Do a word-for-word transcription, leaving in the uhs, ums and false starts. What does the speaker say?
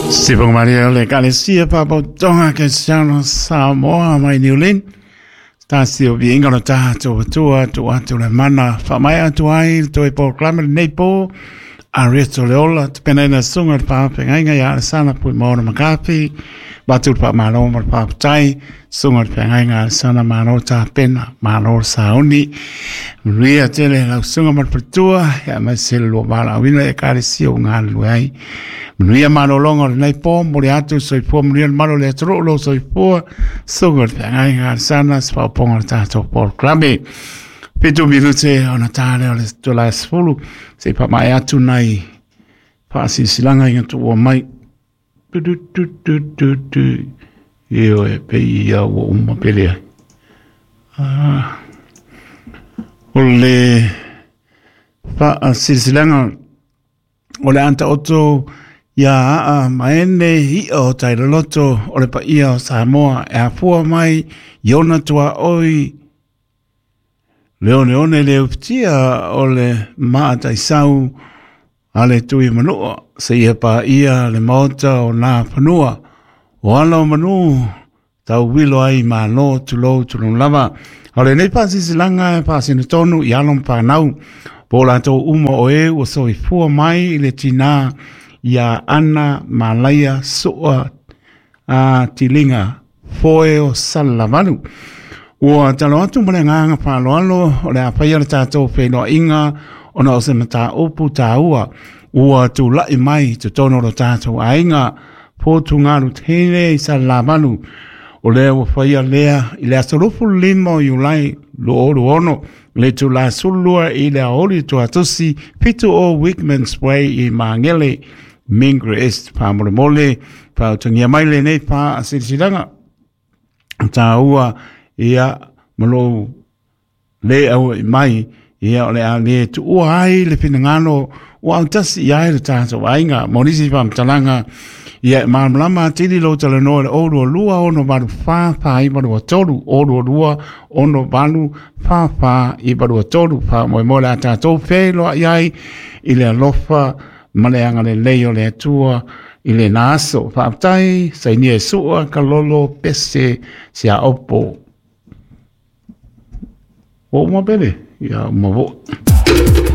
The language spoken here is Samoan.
Sifonga Maria o le Ekalesia Faapotopotoga Kerisiano Samoa mai Niu Lini. Tasi o viiga o le tatou Atua tuu atu le mana faamaea atu ai le toe polokalame lenei po Arieta o le Ola tapenaina susuga i le faafeagaiga ia Alesana Puimaona Makafi avatu le faamalo ma le faafetai susuga i le feagaiga Alesana malo tapena malo le sauni manuia tele lau susuga ma le faletua aemaise le lua valaauina i Ekalesia ua galulue ai manuia malologa o lenei po momoli atu le soifua manuia le malu o le atunuu lou soifua susuga i le feagaiga Alesana se faaopoopoga o le tatou polokalame. Fitu minute ona ta lea o le itula e sefulu se i faamaea atu nai faasilasilaga ina tuua mai. Tu tu tu tu tu tu. Ioe, pei ia ua uma pe leai. Ah, o le faasilasilaga o le a taoto ia aa maene i'a o tailoloto o le paia o Samoa e afua mai i ona tuaoi le oneone le ufitia o le maataisau a le tui manua seia paia le maota o nā fanua o ala o manu tauwilo ai malo tulou tulou lava. O lenei faasilasilaga e faasinotonu i alo ma fanau po o latou uma o e ua soifua mai i le tinā ia Ana Malaia Sua a Tiliga Foe o Salelavalu. Ua talo atu ma le agaga faaaloalo o le a faia le tatou feiloaiga ona o se mataupu taua ua tulai mai i totonu o lo tatou aiga potugalu tele i Salelavalu. O lea ua faia lea i le aso luafulu lima o Iulai lua o lua ono le itula sefululua i le aoauli Tuatosi fitu o Wickmans Way i Magele Mingre East. Faamolemole faautagia mai lenei faasilasilaga taua ia ma lou le auai mai ia o le a le tuua ai le finagalo ua autasi i ai le tatou aiga. Mo nisi faamatalaga ia e malamalama atili lou talanoa i le o lua lua ono valu fa fa iva lua tolu o lua lua ono valu fa fa iva lua tolu. Faamoemoe le a tatou feiloai ai i le alofa ma le agalelei o le Atua i lena aso. Faafetai sainia e sua kalolo pese siaopo. Ua uma pele? Ia uma fo'i.